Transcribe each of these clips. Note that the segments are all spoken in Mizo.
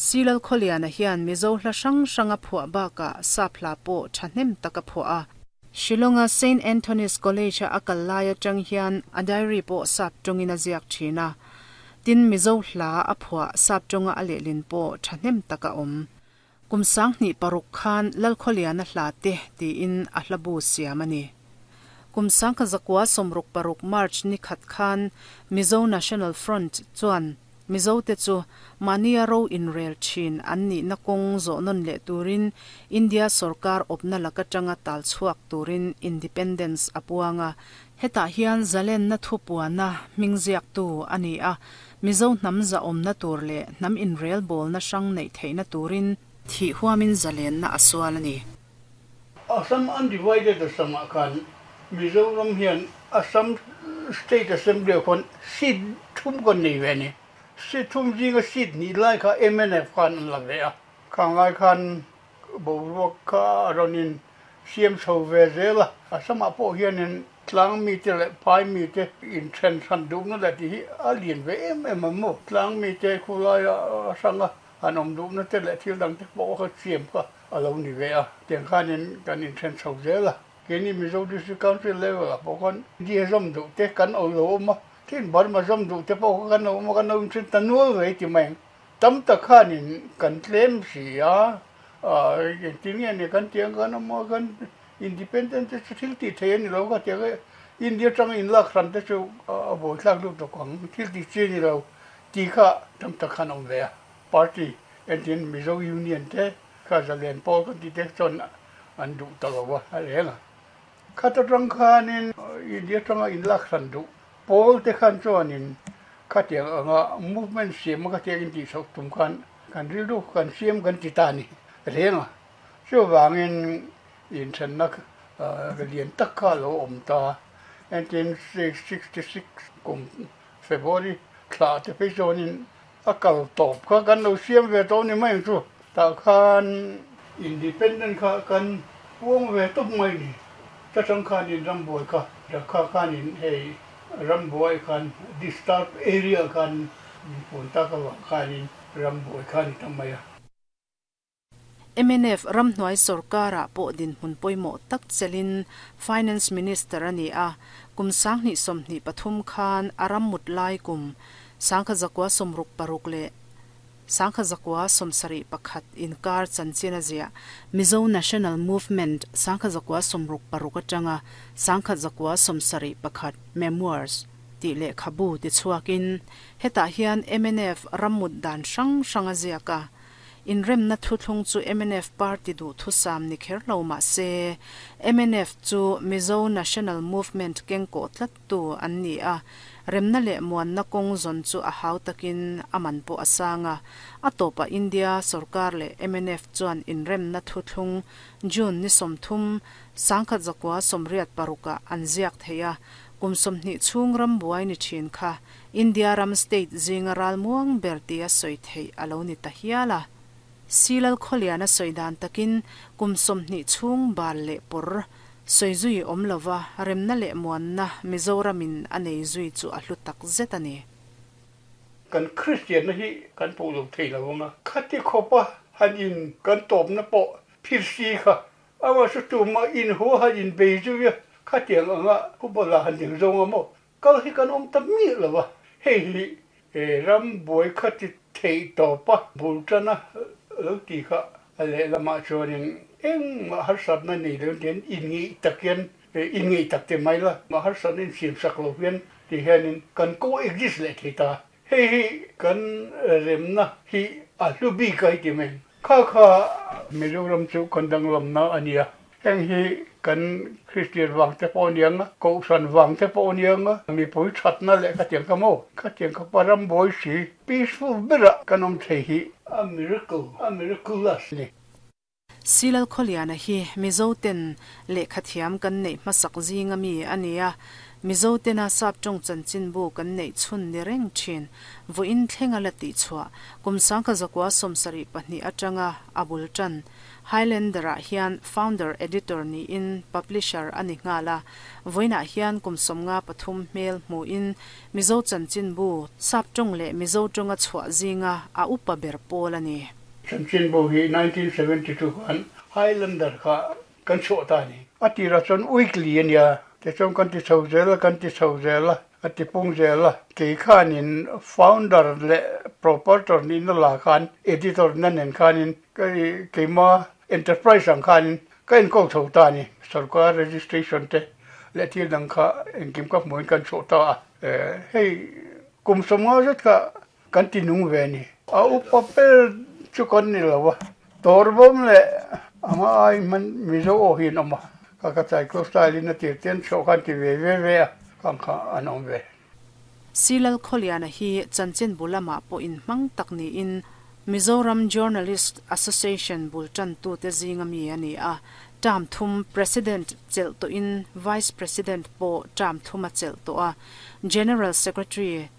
C Lalkhawliana hian Mizo hla hrang hrang a phuah bakah sap hla pawh thahnem tak a phuah a. Shillong-a Saint Anthony's College-a a kal lai atang hian a diary pawh sap tawngin a ziak thin a. Tin, Mizo hla a phuah sap tawnga a lehlin pawh thahnem tak a awm. Kum 2006 khan Lalkhawliana hla te tiin a hla bu siam a ni. Kum 1966 March ni khat khan Mizo National Front chuan Mizo te chu mahnia ro inrel thin an nihna kawng zawh nawn leh turin India sorkar awpna lak atanga tal chhuak turin Independence a puang a. Hetah hian zalenna thupuana hming ziaktu a ni a, Mizo hnam zahawmna tur leh hnam inrel bawlna hrang neih theihna turin thih huamin zalenna a sual a ni. Assam Undivided Assam-ah khan Mizoram hian Assam State Assembly-ah khawn seat thum kan nei ve a ni. Seat thum zinga seat hnih lai kha mnf khan an la ve a. Khang lai khan boruak kha a rawn in siam chho ve zel a. Assam-ah pawh hianin tlang mite leh phai mite inthen hran duhna leh tih hi a lian ve em em a maw. Tlang mite khulaia a hranga an awm duhna te leh thil dang te pawh kha siam kha a lo ni ve a, tiang khanin kan inthen chho zel a. Keini Mizo District Council level ah pawh khan India zawm duh te kan awm lo awm a, tin Burma zawm duh te pawh kha kan lo awm a, kan lo inthen ta nual ve ti mai ang. Tam tak khanin kan tlem si a, engtin nge ni kan tih ang kan awm a, kan independent te chu thil tih theih a ni lo ka ti ang e, India atanga inlak hran te chu a buaithlak lutuk tawk ang, thil tih chi a ni lo tih kha tam tak khan a awm ve a. Party entin Mizo Union te kha zalen pawl kan tih te chuan an duh ta lo a, a reng a. Khat atang khanin India atanga inlak hran duh pawl te khan chuanin khatiang anga movement siam a khatiang intih chhoh tum khan kan rilru kan siam kan ti ta a ni reng a. Chuvangin inthenna lian tak kha a lo awm ta. 1966 kum February thla te phei chuanin a kal tawp kha kan lo siam ve tawh ni mai ang chu. Tah khan Independent kha kan puang ve tawp mai ni. Ta tang khanin rambuai kha Rakha khanin hei rambuai khan disturb area khan min puan tak avang khanin rambuai kha a ni ta mai a. Mnf ramhnuai sorkarah pawh dinhmun pawimawh tak chelhin Finance Minister a ni a, kum 2023 khan a ram mut lai kum 1966 leh 1971 inkar chanchin a ziah Mizo National Movement 1966 atanga 1971 Memoirs tih lehkhabu tichhuakin hetah hian mnf ram mut dan hrang hrang a ziak a. Inremna thuthlung chu mnf party duhthusam ni kher lo mah se, mnf chu Mizo National Movement kengkawh tlattu an ni a, remna leh muanna kawng zawn chu a hau takin a man pawh a sang a. A tawpah India sorkar leh mnf chuan inremna thuthlung June ni 30, 1986 ah an ziak thei a, kum 20 chhung rambuai ni thin kha India ram state zinga ral muang ber tia sawi theih a lo ni ta hial a. Silal Khawliana sawi dan takin kum 20 chhung bal leh pawr sawi zui awm lova remna leh muanna Mizoramin a nei zui chu a hlu tak zet a ni. Kan Kristianna hi kan pawh lo thei lo ang a, khati khawpa han in kan tawpna pawh phir si kha ama chu tumah inhaw han inbei zui a, khatiang anga football-ah han ding zawng a maw? Kal hi kan awm ta miah lo a, hei hi ram buai kha ti theih tawp a, bul tana lo ti kha a lehlamah chuanin engmah harsatna nei lo hian inngeih tak hian inngeih tak ti mai la, mah harsatna insiamsak lo hian ti hianin kan co-exist leh thei ta. Hei hi kan remna hi a hlu bik a ti mai. Kha kha Mizoram chu kan danglamna a nia. Heng hi kan Kristian vang te pawh a ni ang a, Kohhran vang te pawh a ni ang a, mipui thatna leh khatiang kha maw, khatiang kha pa ram buai si, peaceful berah kan awm thei hi a miracle, a miraculous a ni. Silal Khawliana hi Mizo ten lehkhathiam kan neih hmasak zinga mi a ni a. Mizo tena sap tawng chanchinbu kan neih chhun ni reng thin. Vawiin thlenga la tihchhuah kum 1972 atanga a bul tan Highlander-ah hian founder editor niin publisher a ni nghal a. Vawiinah hian kum 53 hmel hmuin Mizo chanchinbu sap tawng leh Mizo tawnga chhuah zinga a upa ber pawl a ni. Chanchinbu hi 1972 khan Highlander kha kan chhuah ta a ni. A tirah chuan weekly a nia, tichuan kan ti chho zel a, kan ti chho zel a, a ti pung zel a. Kei khanin founder leh proprietor nihna lah khan editor na nen khanin keima enterprise ang khanin ka enkawl chho ta a ni. Sorkar registration te leh thil dang kha engkim ka hmuhin kan chhuah ta a. Hei kum 50 zet kha Kan ti nung ve a ni. A upa ber chu kan ni lo a, Tawrbawm leh anga ai hman Mizo aw hi an awm a, ka ka cycle style in a tir te an chhuah khan ti ve ve ve a, kang kha an awm ve. Silal Khawliana hi chanchinbu lamah pawh inhmang tak niin Mizoram Journalist Association bul tantute zinga mi a ni a, term thum President chelh tawhin Vice President pawh term thum a chelh tawh a, General Secretary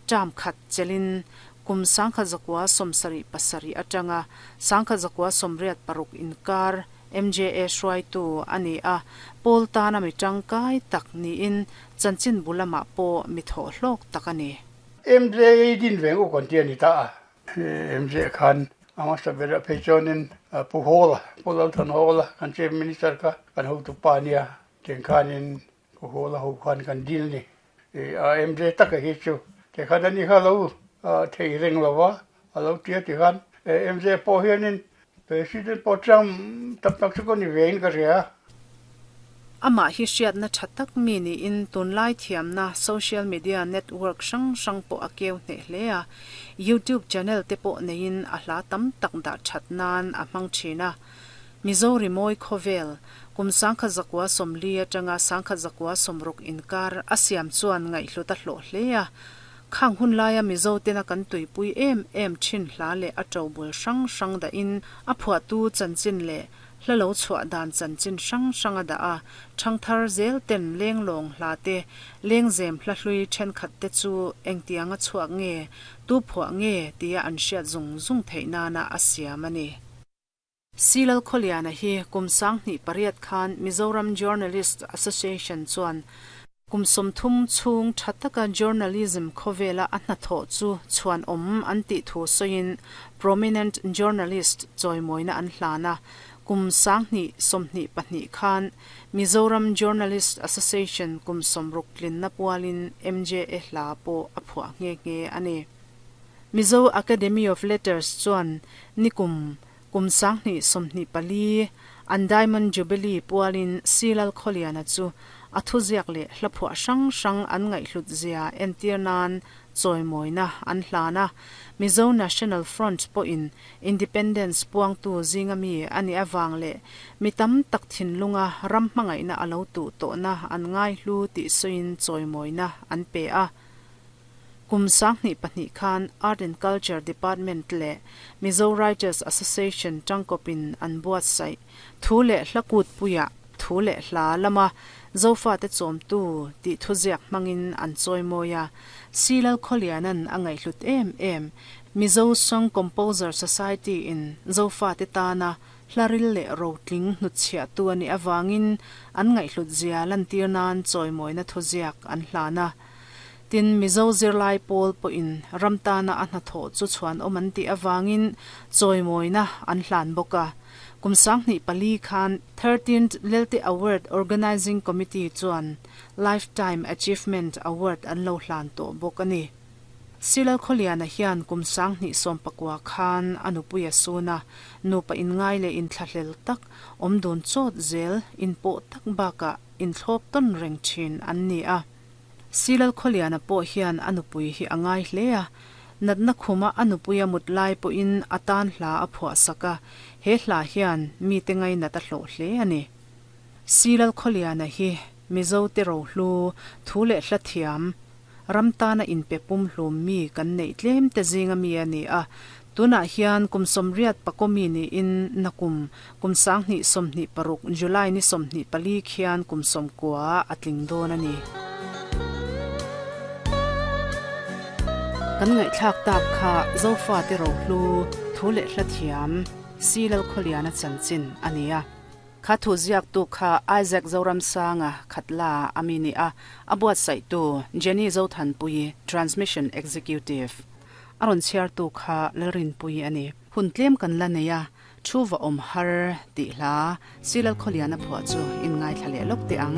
Term khat chelhin kum 1977 atanga 1986 inkar MJA hruaitu a ni a, pawl tana mi tangkai tak niin chanchinbu lamah pawh mi thawh hlawk tak a ni. MJA din veng u kan ti a ni ta a. MJA khan a hmasa berah phei chuanin Pu Hawla, Pu Lalthan Hawla kan Chief Minister kha kan hotupa a nia, tiang khanin Pu Hawla ho khan kan dil ni. A MJ taka hi chu tikhan ani kha lo thei reng lo va, a lo tia tikhan MJ pawh hianin President pawh chang tam tak chu ka ni ve in ka hria. Amah hi hriatna tha tak mi niin tunlai thiamna social media network hrang hrang pawh a keu hneh hle a, YouTube channel te pawh neiin a hla tam tak dah that nan a hmang thin a. Mizo rimawi khawvel, kum 1940 atanga 1960 inkar a siam chuan ngaihhlut a hlawh hle a. Khang hun laia Mizo tena kan tuipui em em thin hla leh a tobul hrang hrang dahin a phuahtu chanchin leh hla lo chhuah dan chanchin hrang hrang a dah a, thangthar zel ten lenglawng hla te, lengzem hla hlui thenkhat te chu engtianga chhuak nge, tu phuah nge tia an hriat zung zung theih nana a siam a ni. Silal Khawliana hi kum 2008 khan Mizoram Journalist Association chuan kum 30 chhung tha taka journalism khawvela a hnathawh chu chhuan awm an tih thu sawiin Prominent Journalist chawimawina an hlan a, kum 2022 khan Mizoram Journalist Association kum 60 tlinna pualin MJA hla pawh a phuah nghe nghe a ni. Mizo Academy of Letters chuan nikum kum 2024 an Diamond Jubilee pualin Silal Khawliana chu a thuziak leh hla phuah hrang hrang an ngaihhlut zia entir nan chawimawina an hlan a. Mizo National Front pawhin Independence puangtu zinga mi a nih avang leh mi tam tak thinlunga ram hmangaihna a lo tuh tawhna an ngaihlu tih sawiin chawimawina an pe a. Kum 2002 khan Art and Culture Department leh Mizo Writers Association tangkawpin an buatsaih thu leh hla kutpuiah thu leh hla lama Zofate chawmtu tih thuziak hmangin an chawimawi a. Silal Khawliana'n a ngaihhlut em em Mizo Song Composer Society in Zofate tana hlaril leh rotling hnutchhiahtu a nih avangin an ngaihhlut zia lantir nan chawimawina thuziak an hlan a. Tin, Mizo zirlai pawl pawhin ram tana a hnathawh chu chhuanawm an tih avangin chawimawina an hlan bawk a. Kum 2004 khan 13th Lelte Award Organising Committee chuan Lifetime Achievement Award an lo hlan tawh bawk a ni. Silal Khawliana hian kum 2019 khan a nupui a sun a, nupa inngai leh inthlahlel tak, awm dun chawt zel, inpawh tak bakah inthlawp tawn reng thin an ni a. Silal Khawliana pawh hian a nupui hi a ngai hle a, natna khuma a nupui a mut lai pawhin a tan hla a phuah sak a, he hla hian mite ngainat a hlawh hle a ni. Silal Khawliana hi Mizo te rohlu, thu leh hla thiam, ram tana inpe pumhlum mi kan neih tlem te zinga mi a ni a, tunah hian kum 84 mi niin nakum kum 2026 July ni 24 khian kum 90 a tling dawn a ni. Kan ngaihthlak tak kha Zofate rohlu thu leh hla thiam Si Lalkhawliana chanchin a ni a. Kha thu ziaktu kha Isaac Zoramsanga Khatla a mi ni a, a buatsaihtu Jenny Zothanpuii, Transmission Executive. A rawn chhiartu kha Lalrinpuii a ni. Hun tlem kan la nei a, Thu va awm har tih hla Si Lalkhawliana phuah chu in ngaithla leh lawk teh ang.